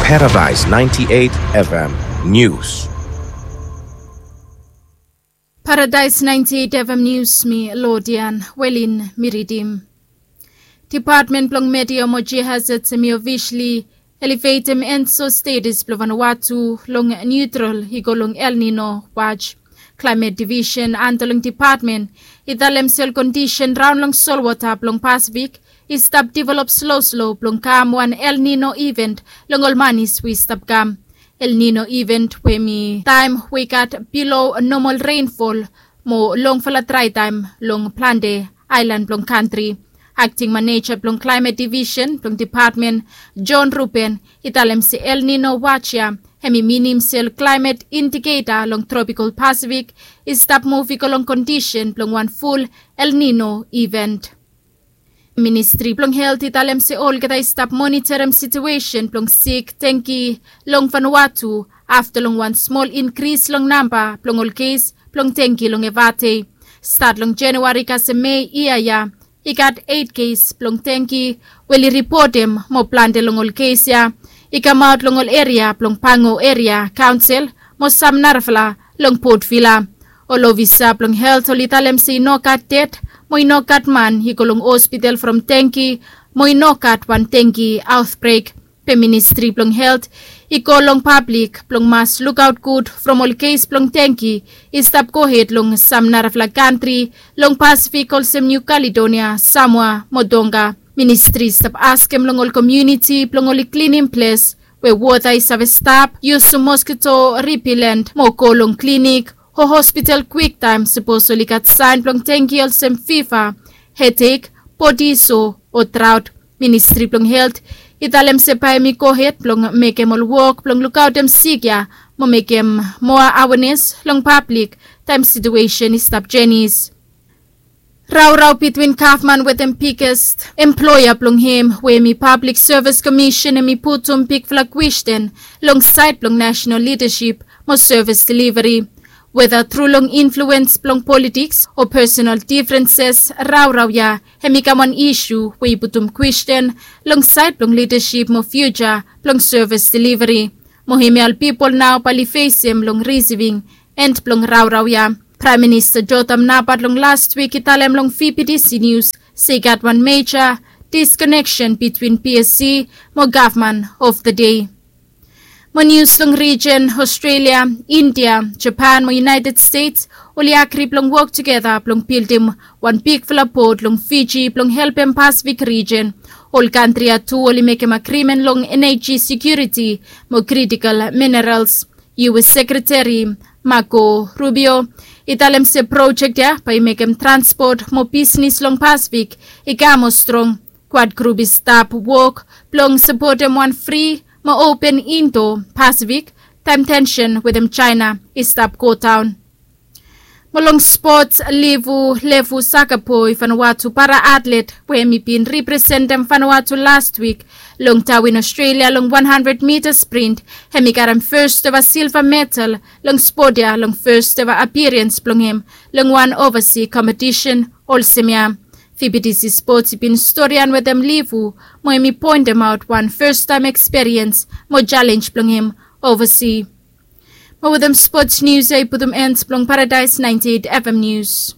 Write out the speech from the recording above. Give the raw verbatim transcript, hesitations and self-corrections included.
Paradise ninety-eight F M News. Paradise ninety-eight F M News, mi Lodian Welin mi ridim. Department blong Meteo mo Geohazards hemi officially elevatem enso status blong Vanuatu long neutral i go long El Nino watch. Climate Division anda long department i talem se ol kondisen raon long solwota blong Pasifik i stap develop sloslo blong kam wan El Nino event long ol manis we i stap kam. El Nino event we hemi taem we i gat bilo nomol reinfol mo longfala drae taem long plante aelan blong kantri. Akting maneja blong Climate Division blong department, John Ruben, i talem se El Nino watch ya hemi minim se ol climate indicator long tropikol Pasifik i stap muv i go long kondisen blong wan ful El Nino event. Ministri blong Helt i talem se olgeta i stap monitorem situesen blong sik dengki long Vanuatu afta long wan smol inkris long namba blong ol kes blong dengki long Evate. Stat long Januari kasem Mei yia ya i gat eit kes blong dengki we oli ripotem mo plante long ol kes ya i kamaot long ol eria blong Pango Eria Kaonsel mo sam narafala long Port Vila. Ol ofisa blong Helt oli talem se i no gat ded mo i no gat man i go long hospital from dengki mo i no gat wan dengki aotbrek. Be Ministri blong Helt i go long pablik blong mas lukaot gud from ol kes blong dengki i stap gohed long sam narafala kantri long Pasifik olsem Niu Kaledonia, Samoa mo Tonga. Ministri i stap askem long ol komuniti blong oli klinim ples we wota i save stap, yusum moskito ripilent mo go long klinik o hospital kwiktaem sapos oli gat saen blong dengki olsem fiva, hedek, bodi so o draot. Ministri blong Helt i talem se bae hemi gohed blong mekem ol wok blong lukaotem sik ya mo mekem moa awenes long pablik taem situesen i stap jenis. Raorao bitwin gavman wetem biges emploea blong hem we hemi Pablik Sevis Komisen hemi putum bigfala kwesten long saed blong nasenal lidasip mo sevis deliveri. Weta tru long influens blong politiks o pesenal difrenses, raorao ya hemi kam wan isu we i putum kwesten long saed blong lidasip mo fiuja blong sevis deliveri. Mo hemia ol pipol nao bae oli fesem long risiving en blong raorao ya. Praem Minista Jotham Napat long lastwik i talem long V B T C Nius se i gat wan meja diskoneksen bitwin P S C mo gavman of the dei. Mo nius long rijen, Australia, India, Japan mo United States oli agri blong wok tugeta blong bildim wan bigfala pot long Fiji blong helpem Pasifik rijen. Ol kantri ya tu oli mekem agrimen long eneji sekiuriti mo kritikol minerals. U S Sekreteri Marco Rubio i talem se projek ya bae i mekem transpot mo bisnes long Pasifik i kam moa strong. Kwad grup i stap wok blong sapotem wan fri mo open Indo Pasifik taem tensen wetem Jaena i stap godaon. Mo long spots, Livu Levu Sakaboi, Vanuatu para atlet we hemi bin representem Vanuatu lastwik long Darwin, Australia long wan handred mita sprint, hemi karem fes eva silva medal long spot ya long fes eva apiriens blong hem long wan ovasi kompetisen olsem ya. V B T C Spots i bin storian wetem Livu mo hemi poentemaot wan fes taem ekspiriens mo jalenj blong hem ovasi. Mo wetem spots nius ya i putum en blong Paradise ninety-eight F M Nius.